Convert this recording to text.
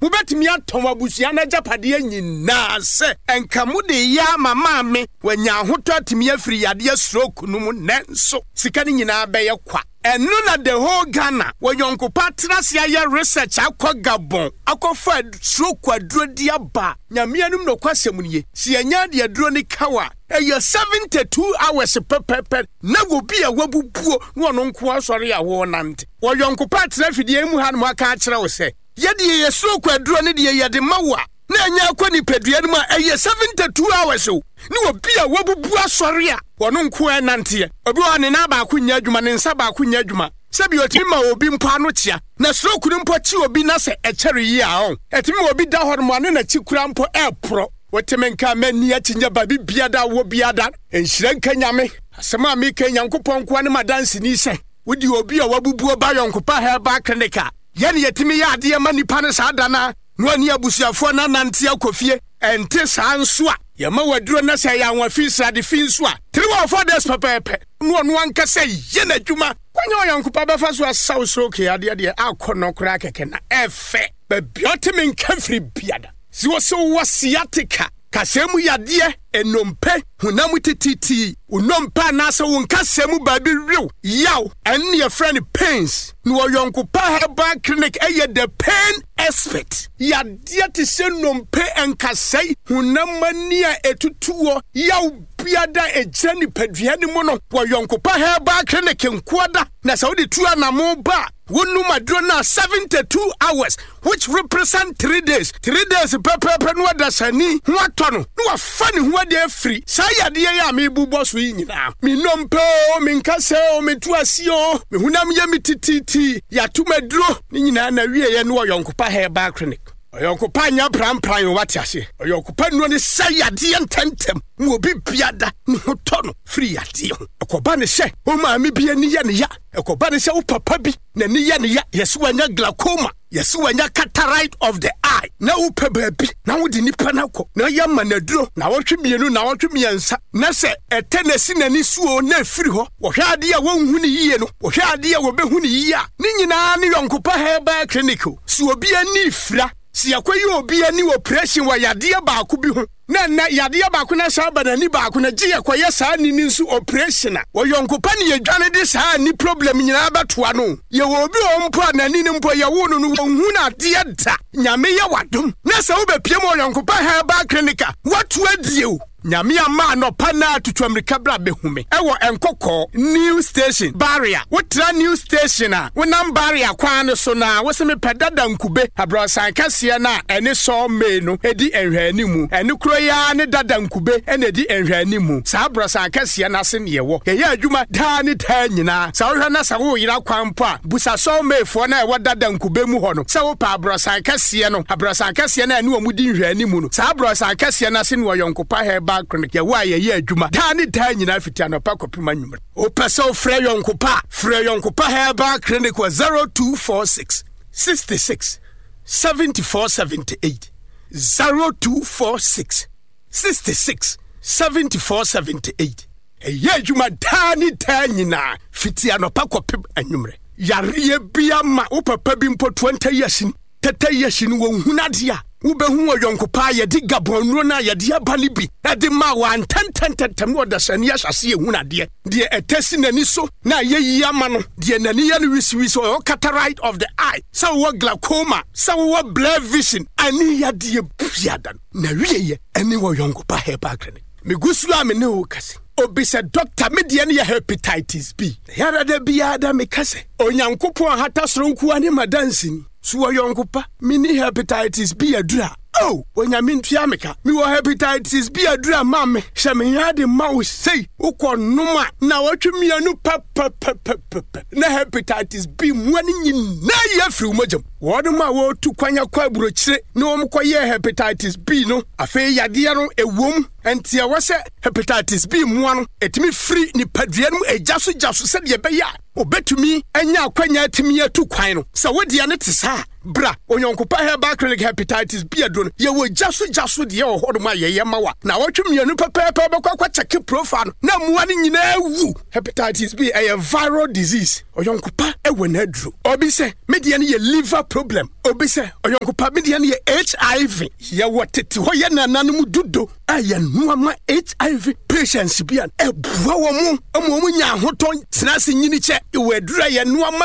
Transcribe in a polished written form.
Mobɛtumi atɔn abusua no agyapadeɛ nyinaa sɛ nka mode reyɛ ama maame wanya ahotɔ atumi afiri yadeɛ stroke no mu nanso sika no nyinaa bɛyɛ kwa. Ɛno na the whole Ghana wɔ yɔnkopa atena ase ayɛ research akɔ Gabon akɔfa stroke aduro de aba. Nyame anim nokwasɛm nie, sɛ yɛnya de aduro no ka wo a, ɛyɛ 72 hours pɛpɛpɛ na obi a wabubuo na ɔno nko asɔre a wɔrenante. Wɔ yɔnkopa atena afidie yi mu hanom aka akyerɛ wo sɛ, Yɛdeɛ yɛ stroke aduro no deɛ yɛde ma wo a, na ɛnyɛ akɔ nipadua no mu a, ɛyɛ 72 hours o, ne obi a wabubu asɔre a ɔno nko ara nanteɛ. Obi wɔ hɔ a ne nan baako nyɛ adwuma, ne nsa baako nyɛ adwuma. Sɛbi ɔtumi ma obi mpo ano kyea. Na stroke no mpo kye obi na sɛ ɛkyɛre yie a ɔn, ɛtumi ma obi da hɔ nom a ne n'akyi koraa mpo ɛreporɔ. Wote me nka a m'ani akyi nyɛ baabi biara da wɔ biara da. Nhyira nka Nyame. Asɛm a meka yi Nyankopɔn nkoa ne m'adanseni sɛ wode obi a wabubuo ba Yɔnkopa Herbal Clinic a, Yɛn na yɛtumi yɛ adeɛ ma nnipa no saa da no ara na wɔne abusuafoɔ no anante akɔ fie. Ɛnte saa nso a, yɛma wo aduro na sɛ ɛyɛ anwa fi, srade fi nso a, 3 or 4 days pɛpɛɛpɛ na ɔno ankasa yɛ n'adwuma. Kwan a ɔyɔnko pa bɛfa so asa wo stroke yadeɛ deɛ akɔ no koraa kɛkɛ na ɛfɛ. Baabi a ɔte me nka firi biada. Sɛ wɔsɛ wowɔ sciatica, kasɛɛ mu yadeɛ, nnompe, honam tititi, wo nnompe anaasɛ wo nkasɛɛ mu baabi wew, yaw, ɛno na yɛfrɛ no pains. Na Ɔyɔnko Pa Herbal Clinic yɛ the pain expert. Yadeɛ te sɛ nnompe, nkasɛe, honam ani a ɛtutuɔ, yaw biada a ɛgyina nipadua no mu no, Ɔyɔnko Pa Herbal Clinic nkoa da. Na sɛ wode tu anamo ba a, wonom aduro no a 72 hours which represent 3 days, 3 days pɛpɛɛpɛ no ɔdasani ho atɔ no na wafa ne ho adi afiri saa yadeɛ yi a mebobɔ so yi nyinaa. Me nnompe o, me nkasɛɛ o, me to aseɛ o, me honam yɛ me tititi, yɛato m'aduro ne nyinaa na wieɛ ne Ɔyɔnkopa Herbal Clinic. Ɔyɔnkopa nyɛ prampran o, wate aseɛ. Ɔyɔnkopa nnuro ne sɛ yadeɛ ntɛmntɛm ma obi biada ne ho tɔ no firi yadeɛ ho. Ɛkɔba ne sɛ wo maame bi ani yɛ ne ya, ɛkɔba ne sɛ wo papa bi n'ani yɛ ne ya, yɛse wanya glaucoma, yɛse wanya cataract of the eye, na wopɛ baabi na wode nipa no akɔ na yɛma no aduro naawɔtwe mmienu, naawɔtwe mmiɛnsa, na sɛ ɛtɛ na ɛsi n'ani so o na ɛfiri hɔ, wɔhwɛ adeɛ a wɔnhu no yie no, wɔhwɛ adeɛ a wɔbɛhu no yie a, ne nyinaa ne Yɔnkopa Herbal Clinic o. Sɛ obi ani fira, sɛ yɛakɔyɛ obi ani operation wɔ yadeɛ baako bi ho, na ɛnnɛ yadeɛ baako no asan aba n'ani baako no, gye yɛkɔyɛ saa ani no nso operation a, wɔ yɔnko pa ne yɛdwane de saa ani problem nyinaa bɛtoa no. Yɛwɔ obi wɔ hɔ mpo a n'ani no mpo yɛwoo no no wɔnhu no adeɛ da. Nyame yɛ w'adom na sɛ wobɛpie mu wɔ Yɔnko Pa Herbal Clinic a, woato adie o. Nyame ama anɔpa naa tutu amirika bra bɛhu me ɛwɔ Nkɔkɔɔ new station barrier. Wo tra new station a wo nam barrier kwan no so naa wo se me pɛ dada nkube abrɔsan kɛseɛ no a ɛne saw may no di nhwɛanimu. Ɛno koro yi ara ne dada nkube na ɛdi nhwɛanimu. Saa abrɔsan kɛseɛ no ase ne yɛwɔ. Yɛyɛ adwuma daa ne daa nyinaa. Sɛ wohwɛ na sɛ woreyera kwan mpo a, busa saw may foɔ no a ɛwɔ dada nkube mu hɔ no sɛ wopɛ abrɔsan kɛseɛ no, abrɔsan kɛseɛ no a ɛne wɔn di nhwɛanimu no. Saa abrɔsan kɛseɛ no ase ne Ɔyɔnkopa Herbal Clinic yɛwɔ a yɛyɛ adwuma daa ne daa nyinaa fiti anɔpa kɔpem anwummere. Wopɛ sɛ wofrɛ Yɔnkopa a, frɛ Yɔnkopa Herbal Clinic wɔ 0246 66 74 78, 0246 66 74 78. Ɛyɛ adwuma daa ne daa nyinaa fiti anɔpa kɔpem anwummerɛ. Yareɛ bi ama wo papa bi mpo 20 years ni, 30 years ni, wɔnhunu adeɛ a wobɛhu wɔ yɔnko paa. Yɛde Gabon nnuro no a yɛde aba no bi de ma wɔ antɛntɛntɛntɛm na ɔdasani ahyɛ ase ehunu adeɛ. Deɛ ɛtɛ si n'ani so na ayɛ yie ama no, deɛ n'ani yɛ no wisiwisi, ɔwɔ cataract of the eye, sɛ wowɔ glaucoma, sɛ wowɔ blur vision, ani yadeɛ biada no na wieɛ ɛne wɔ yɔnko pa herbal clinic. Megu so a me ne wo kasa. Obi sɛ dɔkta, me deɛ no yɛ hepatitis B. Yara da biara da meka sɛ Onyankopɔn ahata soro nkoa ne madanseni. So wɔ yɔnko pa, menni hepatitis B aduru a? Oh, Onyame ntua me ka. Mewɔ hepatitis B aduru a ma me. Hyɛ me ya de ma wo sei. Wokɔ nom a, nnawɔtwe mmienu pɛpɛpɛpɛpɛ na hepatitis B mmoa no nyinaa yi afiri wo mogya mu. Wɔnom a wɔretu kwan akɔ aburokyire na wɔn kɔyɛɛ hepatitis B no, afei yadeɛ no ɛwom. Ɛnti ɛwɔ sɛ hepatitis B mmoa no ɛtumi firi nipadua no mu ɛgya so gya so sɛdeɛ ɛbɛyɛ a obetumi anya akwanya atumi atu kwan no. Sɛ wo deɛ no te saa a, Bra Onyɔnkopa Herbal Clinic Hepatitis B aduro no, yɛwɔ gya so gya so deɛ wɔ hɔnom a yɛyɛ ma wa. Naawɔtwe mmienu pɛpɛɛpɛ wobɛkɔ akɔ kyɛke profile no na mmoa no nyinaa awu. Hepatitis B ɛyɛ viral disease. Ɔyɔnkopa wɔ n'aduro. Obi sɛ me deɛ no yɛ liver problem. Obi sɛ ɔyɔnkopa me deɛ no yɛ HIV. Yɛwɔ tete hɔ yɛ nananom dudo a yɛnoa ma HIV patients bi a ɛboa wɔn ma wɔn nya ahotɔ tena ase nyini kyɛ. Wɔ aduro a yɛnoa ma.